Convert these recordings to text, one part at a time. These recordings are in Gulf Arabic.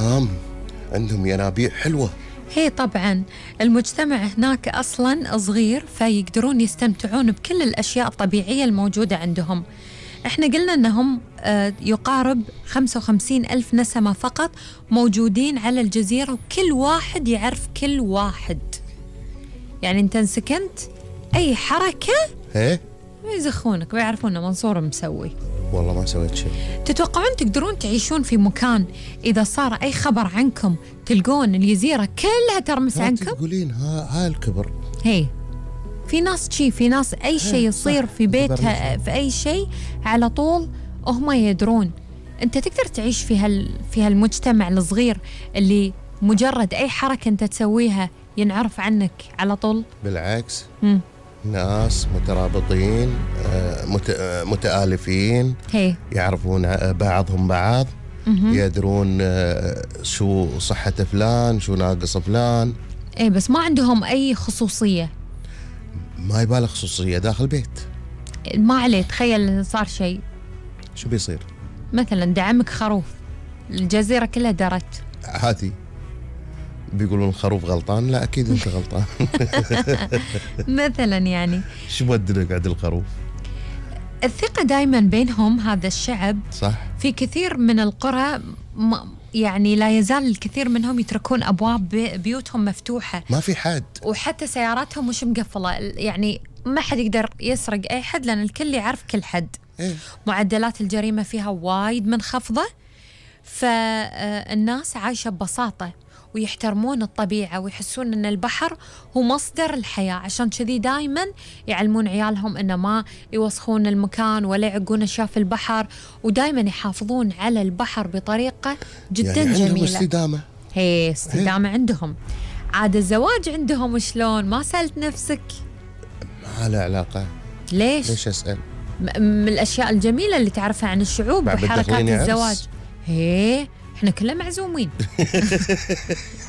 نعم، عندهم ينابيع حلوة. هي طبعا المجتمع هناك أصلا صغير، فيقدرون يستمتعون بكل الأشياء الطبيعية الموجودة عندهم. احنا قلنا أنهم يقارب 55,000 نسمة فقط موجودين على الجزيرة، وكل واحد يعرف كل واحد. يعني انت سكنت أي حركة ايه يزخونك ويعرفون أن منصور مسوي. والله ما سويت شيء. تتوقعون تقدرون تعيشون في مكان إذا صار أي خبر عنكم تلقون الجزيرة كلها ترمس عنكم؟ تقولين ها الكبر. هي في ناس في ناس أي شيء يصير في بيتها في أي شيء على طول هم يدرون. أنت تقدر تعيش في هالمجتمع الصغير اللي مجرد أي حركة أنت تسويها ينعرف عنك على طول؟ بالعكس. ناس مترابطين، متآلفين، هي يعرفون بعضهم بعض، يدرون شو صحة فلان، شو ناقص فلان. ايه بس ما عندهم أي خصوصية. ما يبالغ خصوصية داخل بيت. ما عليه، تخيل صار شيء، شو بيصير؟ مثلا دعمك خروف، الجزيرة كلها درت. عادي بيقولون الخروف غلطان، لا أكيد أنت غلطان. مثلا يعني شو بدك عند الخروف؟ الثقة دائما بينهم هذا الشعب. صح. في كثير من القرى يعني لا يزال الكثير منهم يتركون أبواب بيوتهم مفتوحة، ما في حد، وحتى سياراتهم مش مقفلة. يعني ما حد يقدر يسرق أي حد لأن الكل يعرف كل حد. معدلات الجريمة فيها وايد منخفضة، فالناس عايشة ببساطة ويحترمون الطبيعة ويحسون أن البحر هو مصدر الحياة. عشان كذي دايما يعلمون عيالهم أن ما يوسخون المكان ولا يعقون أشياء في البحر، ودايما يحافظون على البحر بطريقة جدا يعني جميلة. عندهم استدامة. هي استدامة عندهم. عاد الزواج عندهم شلون؟ ما سألت نفسك؟ ما له علاقة. ليش أسأل؟ من الأشياء الجميلة اللي تعرفها عن الشعوب وحركات الزواج. هي احنا كلنا معزومين.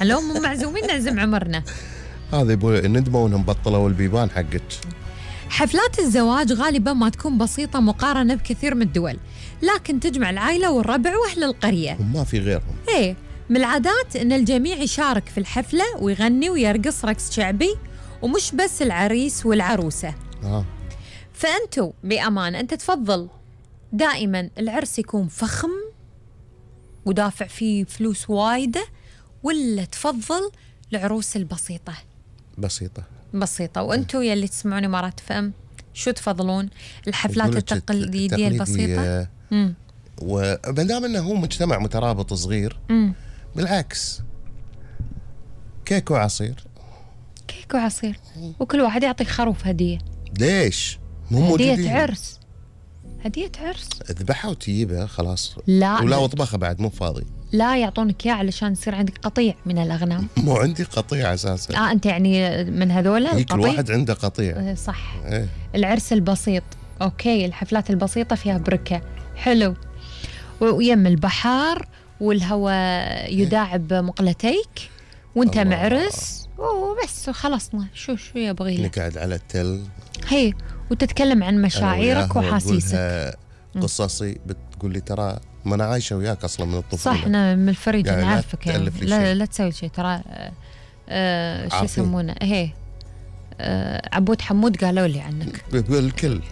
لو مو معزومين نعزم عمرنا. هذا يبغى ندموا انهم بطلوا البيبان حقك. حفلات الزواج غالبا ما تكون بسيطة مقارنة بكثير من الدول، لكن تجمع العائلة والربع واهل القرية وما في غيرهم. ايه من العادات ان الجميع يشارك في الحفلة ويغني ويرقص رقص شعبي، ومش بس العريس والعروسة. فأنتوا بأمان، أنت تفضل دائما العرس يكون فخم ودافع فيه فلوس وايدة، ولا تفضل العروس البسيطة؟ بسيطة. وأنتوا يلي تسمعوني مرات فهم شو تفضلون؟ الحفلات التقليدية البسيطة؟ ومدام أنه هو مجتمع مترابط صغير، بالعكس كيك وعصير. وكل واحد يعطيك خروف هدية. ليش؟ مو موجودين. هدية عرس اذبحها وتجيبها خلاص. لا ولا وطبخها بعد مو فاضي. لا يعطونك اياه علشان يصير عندك قطيع من الأغنام. مو عندي قطيع أساسا. أنت يعني من هذولا؟ كل واحد عنده قطيع. صح. العرس البسيط أوكي، الحفلات البسيطة فيها بركة حلو، ويم البحر والهواء يداعب مقلتيك وانت معرس وبس وخلصنا. شو يبغي لك؟ نقعد على التل. هي وتتكلم عن مشاعرك وحاسيسك. قصصي بتقول لي ترى ما أنا عايشة وياك أصلا من الطفولة. صح، أنا من الفريج يعني أنا عارفك يعني. لا تسوي شيء ترى. شو يسمونه؟ هي عبود حمود قالوا لي عنك بالكل.